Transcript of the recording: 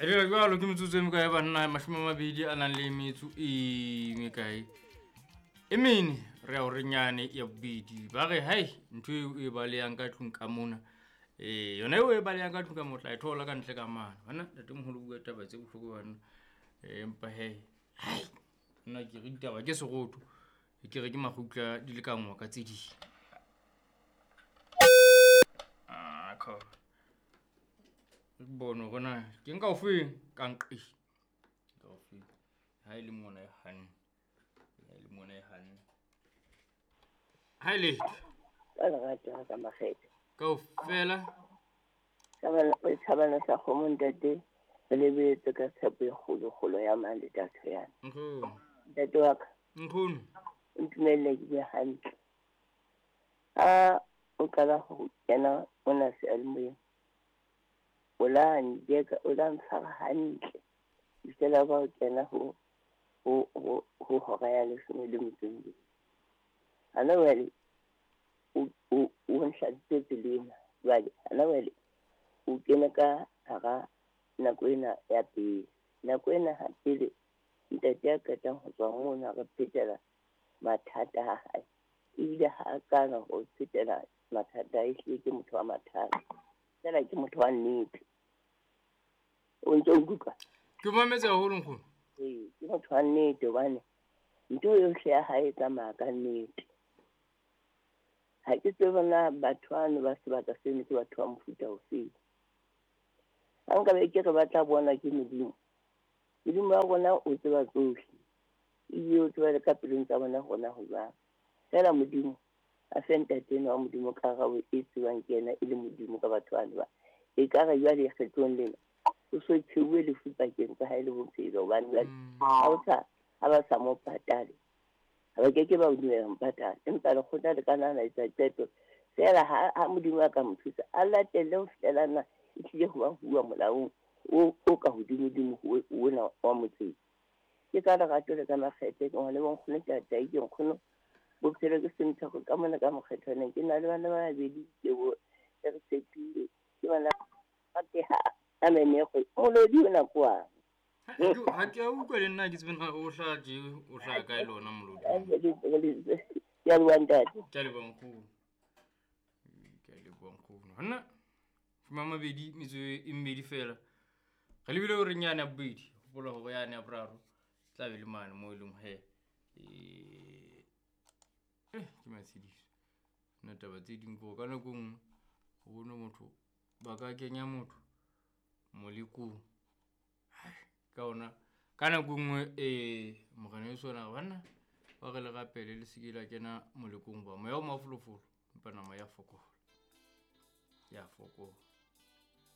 Re jwalo ke metsotso e mekae banna? 20 a nang le metso e mekae? E mene re ya horeng yane ya bobedi. Ba re hai ntho eo e balehang ka tlung ka mona. Yona eo e balehang ka tlung ka motla e thola ka ntle ka mane. Banna ntatemoholo o bua taba tse bohloko banna. Empa he hai nna ke re ditaba ke serotho. Ke re ke makgutla di lekangwa ka tse ding. Ah, kha. Bone hore na ke nka ofeng ka nqe. Ka ofeng. Ha e le mona e hanne. Ha e le mona e hanne. Ha e letho. Ka lerato ka makgethe. Kaofela. Thabana sa kgomo ntate, re lebeletse ka tshepo e kgolo kgolo ya mang le tatho yana. Nkgono. Ntate wa ka. Nkgono. O ntumelle ke be hantle. Ha o qala ho kena mona seyalemoyeng, o la njeka, o la ntshwara hantle. Fihlela ba o kena ho hora ya 12. Hana jwale o nhladitse tseleng jwale, hana jwale o kene ka hara nako ena ya pele. Nako ena ha pele ntate ya qetang ho tswa mona re phetela mathata a hae. Ebile ha a kana ho phetela mathata, ehlile ke motho wa mathata. Feela ke motho wa nnete. O ntso nkutlwa? Ke mametse haholo nkgono. Ee, ke motho wa nnete hobane ntho yohle ya hae e tsamaya ka nnete. Ha ke tsebe na batho bano ba sebaka seno ke batho ba mofuta ofeng. Ha nkabe ke re ba tla bona ke Modimo. Modimo wa rona o tseba tsohle. Ebile o tseba le ka pelong tsa bona hore na ho jwang. Feela Modimo a fe ntate enwa wa Modimo karabo e tsebang ke yena e le Modimo ka batho bano ba. Ekare jwale kgetlong lena o so tsheuwe lefu pakeng tsa hae le bophelo hobane jwale ha ba sa mo patale. Ha ba keke ba o dumela mo patala. Empa lekgotla le ka nna la etsa qeto. Feela ha Modimo a ka mo thusa, a latelle ho fihlela na e tlile ho ba huwa molaong o ka hodimodimo ona wa motseng. Ke ka lerato le ka makgethe ke ngwana wa nkgono tatai ke nkgono bophelo ke semthako ka mona ka mokgethwaneng. Ke na le bana ba babedi ke bo re tshepile ke bana ba teha a menego molodi ona kwang. Ha ke a utlwa le nna ke tsebe na o hlaha tje, o hlaha kae le ona molodi. Ke a leboha ntate. Ke a leboha nkgono. Ke a leboha nkgono. Hanna 20 metso e mmedi fela. Re lebile horeng yane ya bobedi. Hopola hore yane ya boraro tla be le mane moo e leng he. Ke matshediso. Nna taba tse ding ke ka nako nngwe o bone motho ba ka kenya motho molekong. Ka ona ka nako nngwe morena Yesu ona banna ba re le rapele le se ke la kena molekong ba moya o mafolofolo empa nama ya fokola. Ya fokola.